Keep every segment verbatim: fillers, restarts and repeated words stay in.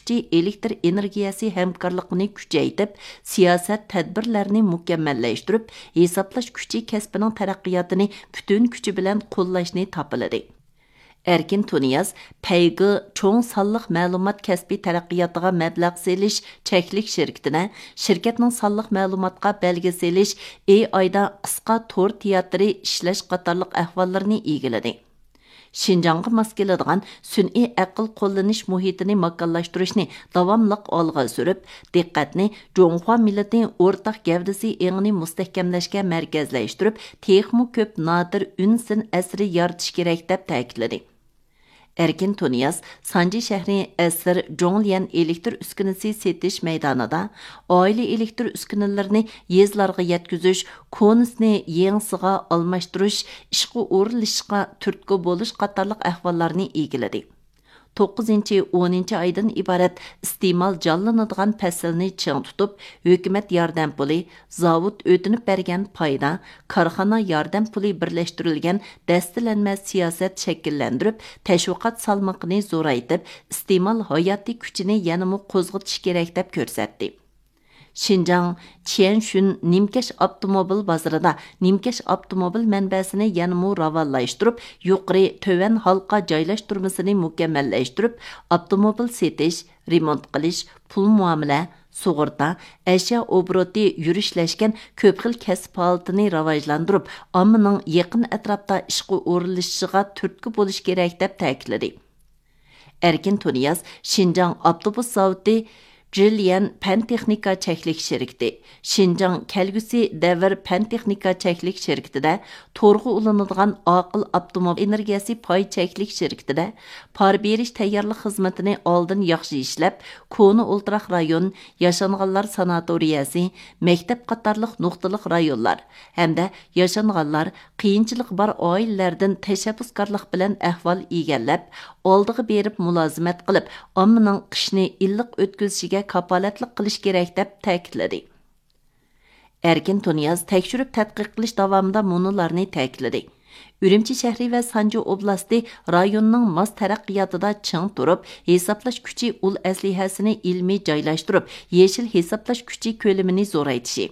كۈچى ئېلېكتر ئېنېرگىيەسى ھەمكارلىقىنى كۈچەيتىپ، سىياسەت تەدبىرلەرنى مۇكەممەللەشتۈرۈپ، ھېسابلاش كۈچى كەسپىنىڭ تەرەققىياتىنى پۈتۈن كۈچى بىلەن قوللاشنى تاپىلىدى. ئەركىن تۇنىياز پەيگې چوڭ سانلىق مەلۇمات كەسپى تەرەققىياتىغا مەبلەغ سېلىش چەكلىك شىركىتىدە شىركەتنىڭ سانلىق مەلۇماتقا بەلگە سېلىش، ئېي ئايدا قىسقا تور تىياتىرى ئىشلەش قاتارلىق ئەھۋاللىرىنى ئىگىلىدى. شىنجاڭغا ماس كېلىدىغان سۈنئىي ئەقىل قوللىنىش مۇھىتىنى ماكانلاشتۇرۇشنى داۋاملىق ئالغا سۈرۈپ، دىققەتنى جۇڭخۇا مىللىتى ئورتاق گەۋدىسى ئېڭىنى مۇستەھكەملەشكە مەركەزلەشتۈرۈپ، تېخىمۇ كۆپ نادىر ئۈن سىن ئەسىرى يارىتىش كېرەك، دەپ تەكىتلىدى. ئەركىن تۇنىياز سانجى شەھىرى ئەسىر جوڭليەن ئېلېكتر ئۈسكۈنىسى سېتىش مەيدانىدا ئائىلە ئېلېكتر ئۈسكۈنىلىرىنى يېزىلارغا يەتكۈزۈش، كونىسىنى يېڭىسىغا ئالماشتۇرۇش، ئىشقا ئورۇنلىشىشقا تۈرتكە بولۇش قاتارلىق ئەھۋاللارنى ئىگىلىدى. توققۇزىنچى، ئونىنچى ئايدىن ئىبارەت ئىستېمال جانلىنىدىغان پەسىلنى چىڭ تۇتۇپ، ھۆكۈمەت ياردەم پۇلى، زاۋۇت ئۆتۈنۈپ بەرگەن پايدا، كارخانا ياردەم پۇلى بىرلەشتۈرۈلگەن دەستىلەنمە سىياسەت شەكىللەندۈرۈپ، تەشۋىقات سالمىقىنى زورايتىپ، ئىستېمال ھاياتىي كۈچىنى يەنىمۇ قوزغىتىش كېرەك، دەپ كۆرسەتتى. شىنجاڭ چيەنشۈن نىمكەش ئاپتوموبىل بازىرىدا نىمكەش ئاپتوموبىل مەنبەسىنى يەنىمۇ راۋانلاشتۇرۇپ، يۇقىرى، تۆۋەن ھالقا جايلاشتۇرمىسىنى مۇكەممەللەشتۈرۈپ، ئاپتوموبىل سېتىش، رېمونت قىلىش، پۇل مۇئامىلە، سۇغۇرتا، ئەشيا ئوبوروتى يۈرۈشلەشكەن كۆپ خىل كەسىپ ھالىتىنى راۋاجلاندۇرۇپ، ئاممىنىڭ يېقىن ئەتراپتا ئىشقا ئورۇنلىشىشىغا تۈرتكە بولۇش كېرەك، دەپ تەكىتلىدى. ئەركىن تۇنىياز شىنجاڭ ئاپتوبۇس زاۋۇتى، جىليەن پەن تېخنىكا چەكلىك شىركىتى، شىنجاڭ كەلگۈسى دەۋر پەن تېخنىكا چەكلىك شىركىتىدە، تورغا ئۇلىنىدىغان ئاقىل ئاپتوموبىل ئېنېرگىيەسى پاي چەكلىك شىركىتىدە پار بېرىش تەييارلىق خىزمىتىنى ئالدىن ياخشى ئىشلەپ، كونا ئولتۇراق رايون، ياشانغانلار ساناتورىيەسى، مەكتەپ قاتارلىق نۇقتىلىق رايونلار ھەمدە ياشانغانلار، قىيىنچىلىقى بار ئائىلىلەردىن تەشەببۇسكارلىق بىلەن ئەھۋال ئىگىلەپ، ئالدىغا بېرىپ مۇلازىمەت قىلىپ، ئاممىنىڭ قىشنى ئىللىق ئۆتكۈزۈشىگە كاپالەتلىك قىلىش كېرەك، دەپ تەكىتلىدى. ئەركىن تۇنىياز تەكشۈرۈپ تەتقىق قىلىش داۋامىدا مۇنۇلارنى تەكىتلىدى: ئۈرۈمچى شەھىرى ۋە سانجى ئوبلاستى رايوننىڭ ماس تەرەققىياتىدا چىڭ تۇرۇپ، ھېسابلاش كۈچى ئۇل ئەسلىھەسىنى ئىلمىي جايلاشتۇرۇپ، يېشىل ھېسابلاش كۈچى كۆلىمىنى زورايتىشى،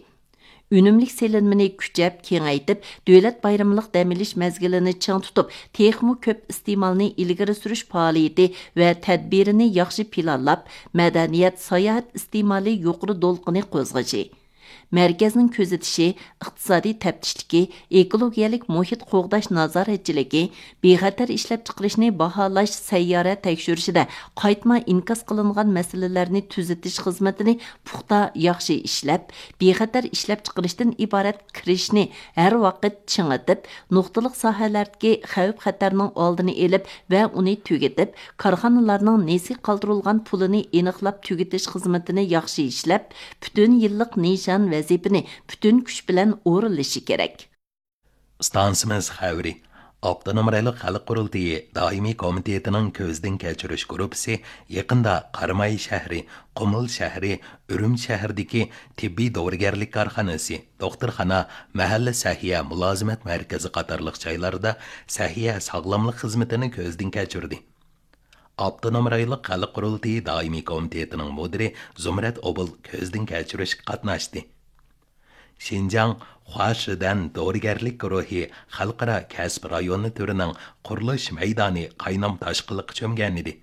ئۈنۈملۈك سېلىنمىنى كۈچەپ كېڭەيتىپ، دۆلەت بايرىملىق دەم ئېلىش مەزگىلىنى چىڭ تۇتۇپ، تېخىمۇ كۆپ ئىستېمالنى ئىلگىرى سۈرۈش پائالىيىتى ۋە تەدبىرىنى ياخشى پىلانلاپ، مەدەنىيەت، ساياھەت ئىستېمالى يۇقىرى دولقۇنى قوزغىشى، مەركەزنىڭ كۆزىتىشى، ئىقتىسادىي تەپتىشلىكى، ئېكولوگىيەلىك مۇھىت قوغداش نازارەتچىلىكى، بىخەتەر ئىشلەپچىقىرىشنى باھالاش سەييارە تەكشۈرۈشىدە قايتما ئىنكاس قىلىنغان مەسىلىلەرنى تۈزىتىش خىزمىتىنى پۇختا، ياخشى ئىشلەپ، بىخەتەر ئىشلەپچىقىرىشتىن ئىبارەت كىرىشنى ھەر ۋاقىت چىڭىتىپ، نۇقتىلىق ساھەلەردىكى خەۋپ-خەتەرنىڭ ئالدىنى ئېلىپ ۋە ئۇنى تۈگىتىپ، كارخانىلارنىڭ نېسى قالدۇرۇلغان پۇلىنى ئېنىقلاپ تۈگىتىش خىزمىتىنى ياخشى ئىشلەپ، پۈتۈن يىللىق نىشان ۋەزىپىنى پۈتۈن كۈچ بىلەن ئورۇنلىشى كېرەك. ئىستانسىمىز خەۋىرى. ئاپتونوم رايونلۇق خەلق قۇرۇلتىيى دائىمىي كومىتېتىنىڭ كۆزدىن كەچۈرۈش گۇرۇپپىسى يېقىندا قاراماي شەھىرى، قۇمۇل شەھىرى، ئۈرۈمچى شەھىرىدىكى تېببىي دورىگەرلىك كارخانىسى، دوختۇرخانا، مەھەللە سەھىيە مۇلازىمەت مەركىزى قاتارلىق جايلاردا سەھىيە ساغلاملىق خىزمىتىنى كۆزدىن كەچۈردى. ئاپتونوم رايونلۇق خەلق قۇرۇلتىيى دائىمىي كومىتېتىنىڭ مۇدىرى زۇمرەت ئوبۇل كۆزدىن كەچۈرۈشكە قاتناشتى. شىنجاڭ خۇاشىدەن دورىگەرلىك گۇرۇھى خەلقئارا كەسىپ رايونى تۈرىنىڭ قۇرۇلۇش مەيدانى قاينام تاشقىنلىققا چۆمگەنىدى.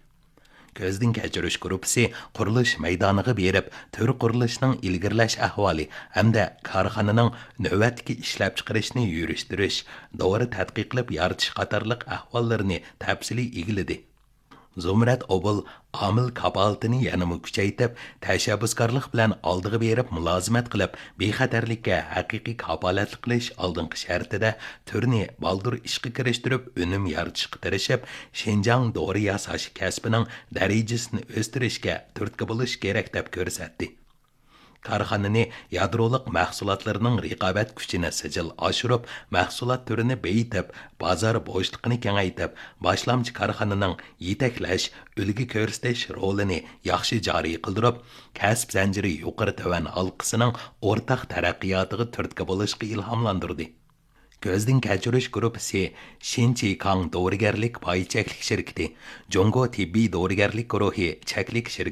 كۆزدىن كەچۈرۈش گۇرۇپپىسى قۇرۇلۇش مەيدانىغا بېرىپ، تۈر قۇرۇلۇشنىڭ ئىلگىرىلەش ئەھۋالى ھەمدە كارخانىنىڭ نۆۋەتتىكى ئىشلەپچىقىرىشنى يۈرۈشتۈرۈش، دورا تەتقىقلەپ يارىتىش قاتارلىق ئەھۋاللىرىنى تەپسىلىي ئىگىلىدى. زۇمرەت ئوبۇل ئامىل كاپالىتىنى يەنىمۇ كۈچەيتىپ، تەشەببۇسكارلىق بىلەن ئالدىغا بېرىپ مۇلازىمەت قىلىپ، بىخەتەرلىككە ھەقىقىي كاپالەتلىك قىلىش ئالدىنقى شەرتىدە تۈرنى بالدۇر ئىشقا كىرىشتۈرۈپ، ئۈنۈم يارىتىشقا تىرىشىپ، شىنجاڭ دورا ياساش كەسپىنىڭ دەرىجىسىنى ئۆستۈرۈشكە تۈرتكە بولۇش كېرەك، دەپ كۆرسەتتى. كارخانىنى يادرولۇق مەھسۇلاتلىرىنىڭ رىقابەت كۈچىنى سىجىل ئاشۇرۇپ، مەھسۇلات تۈرىنى بېيىتىپ، بازار بوشلۇقىنى كېڭەيتىپ، باشلامچى كارخانىنىڭ يېتەكلەش، ئۈلگە كۆرسىتىش رولىنى ياخشى جارى قىلدۇرۇپ، كەسىپ زەنجىرى يۇقىرى تۆۋەن ھالقىسىنىڭ ئورتاق تەرەققىياتىغا تۈرتكە بولۇشقا ئىلھاملاندۇردى. كۆزدىن كەچۈرۈش گۇرۇپپىسى شىنچىكاڭ دورىگەرلىك پاي چەكلىك شىركىتى، جۇڭگو تېببىي دورىگەرلىك گۇرۇھى چەكلىك شىركىتى،